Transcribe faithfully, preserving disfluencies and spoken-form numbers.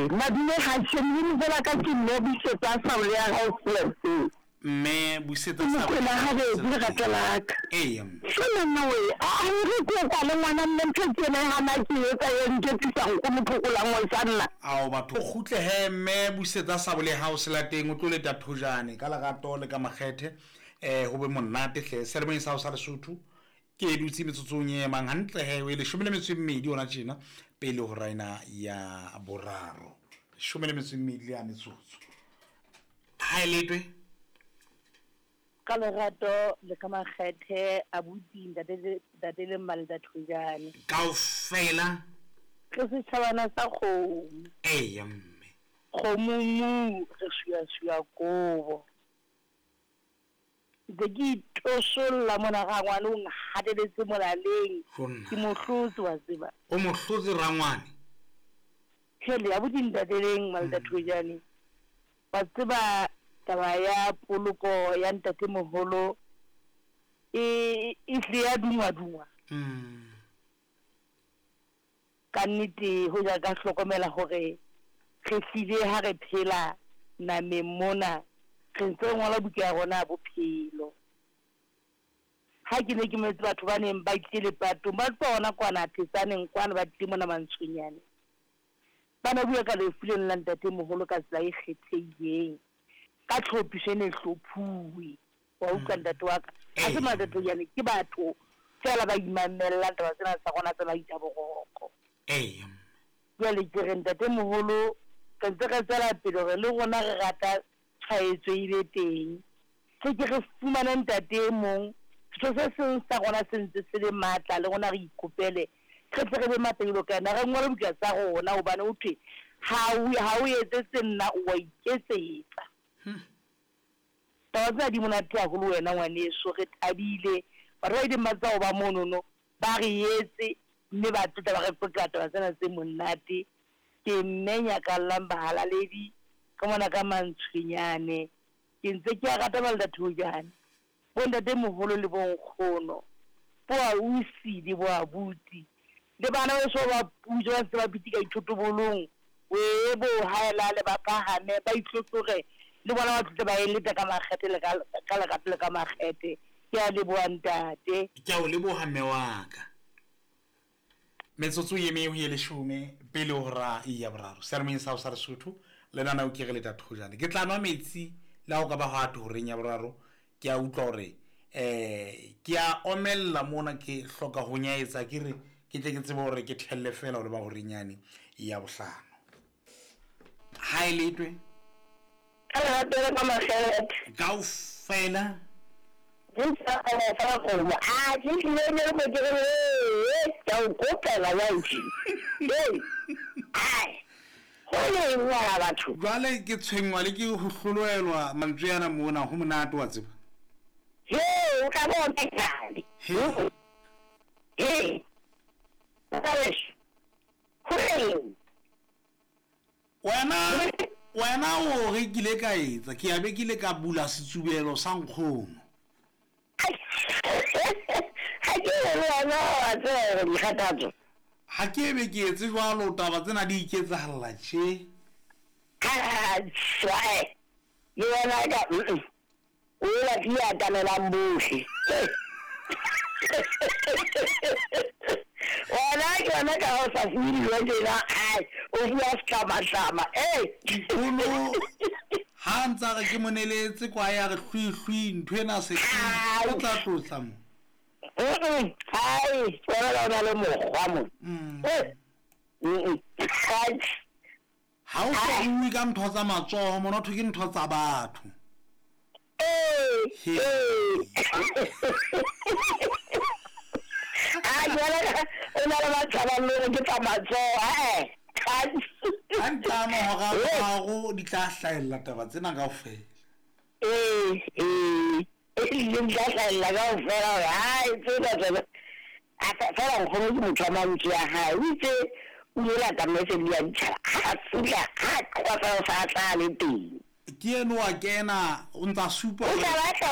Madume ha sheng lebitso la ka ke mme Busetsa Saole ya hao Selaseng. Mme Busetsa Ke Mokwena habedi lerato la ka. Eya mme. Jwale nna we, a a re ke o kwale ngwana mme ntho ke ena e hana ke etsa e nketsisa nkgono phokolang wa sanna. Ao batho o kgutle he mme Busetsa Sabole hao selateng o tlo leta thojane ka lerato le ka makgethe eh ho be monate hle seyalemoyeng sa hao sa Lesotho ke e dutse metsotsong e emang hantle he e leshome le metso e mmedi ona tjena pele ho raena ya boraro leshome le metso e mmedi le ya metsotso ha e letwe Ka lerato le ka makgethe abuti ntate ntate le mma le Thojane. Kaofela Re setjhabana sa kgomo. Eya mme. Kgomo mu re suya-suya kobo. Ntse ke itosolla mona rangwane o nhateletse molaleng. Jonna. Ke mo hlotse wa tseba. O mo hlotse rangwane. Hele abuti ntate leng mma le Thojane. Wa tseba taba ya poloko ya ntatemoholo e e hlile ya dungwa-dungwa. Mm. Ka nnete hoja ka hlokomela hore re hlile ha re phela nameng mona re ntse re ngola buka ya rona ya bophelo. Ha ke ne ke mametse batho ba neng ba tlile lepatong ba tswa hona kwana Thetsaneng kwana ba tlile mona Mantshonyane. Ba ne bua ka lefu lena la ntatemoholo ka tsela e kgethehileng. Ka tlhophiso e ne hlophuwe. Wa utlwa ntate wa ka. Ha se Matatonyane ke batho feela ba imamellang taba tsena tsa rona tsa maitla boroko. Eya. Jwale ke re ntatemoholo re ntse re tswela pele hore le rona re rata tshwaetso e be teng. Tle ke re fumane ntate e mong setho se seng sa rona se ntse se le matla le rona re ikopele re tle re be matla jwalo ka yena re ngole buka tsa rona hobane ho thwe ha o ha o etsetse nna o wa iketsetsa. Taba tsena di monate haholo wena ngwaneso re thabile batho ba ileng ba tswa ho ba monono ba re etse mme ba tlotla ba re qoqela taba tsena tse monate. Ke mme nyakallang bahalaledi ka mona ka Mantshwenyane ke ntse ke a rata ba le Thojane bo ntatemoholo le bo nkgono bo ausi le bo abuti le bana beso ba puso ba ntse ba pitika dithotobolong we bo haelale ba phahame ba itlhotlhore le bona ba tle ba eleta ka makgethe le ka ka lerato le ka makgethe. Ke a leboha ntate. Ke a o leboha mme wa ka. Metsotso e meng ho ye leshome pele ho hora ya boraro seyalemoyeng sa hao sa Lesotho le nna o ke re leta thojane ke tla nwa metsi le ha o ka ba hwa horeng ya boraro ke a utlwa hore eh ke a omella mona ke hloka ho nyaetsa ke re ke tle ke tsebe hore ke thelle fela hore ba horeng yane ya bohlano ha e letwe Ka lerato le ka makgethe. Kaofela Ke ntse fa kgomo. A ke tlile ne re ke re ke o kopela wa ntsi. Hey. Ai. Ho le ngwana batho. Jwale ke tshwenngwa le ke ho hlolohelwa mantswe ana mona ho monate wa tseba. He, o ka bona kale. He. He. Ho le. Wena wena o re kile ka etsa ke ya be kile ka bula setsubelo sa nkgono. Ha ke re wena wa tseba dikgathatso. Ha ke be ke etse jwalo taba tsena di iketsahalla tje. Ha tshwae. Le wena ka o la di atamelang bohle. Wena ke wena ka ho sa fuwe dijo tjena, ai, o fuwa setlamatlama. Eh. Nkgono ha ntsa re ke moneletse kwa ya re hlwi hlwi ntho ena se o tla tlotla mo. Mm. Ai, wena o na le mokgwa mo. Mm. Eh. Mm. Ha o so bue ka ntho tsa matsoho mona thwe ke ntho tsa batho. Eh. He. Eh. A jwale o na le batho ba le ke tsa matsoho, eh. Ha ntlano hora boraro di tla hlahella taba tsena kaofela. Eh, eh. E di tla hlahella kaofela hore hai tsena tsena. A fela nkgono ke motho wa mantswe a hae. O itse o ile lata message ya ditjhaba. Ha fihla, ha qwa fela o sa tla le teng. Ke eno wa kena o ntsa supa O tla batla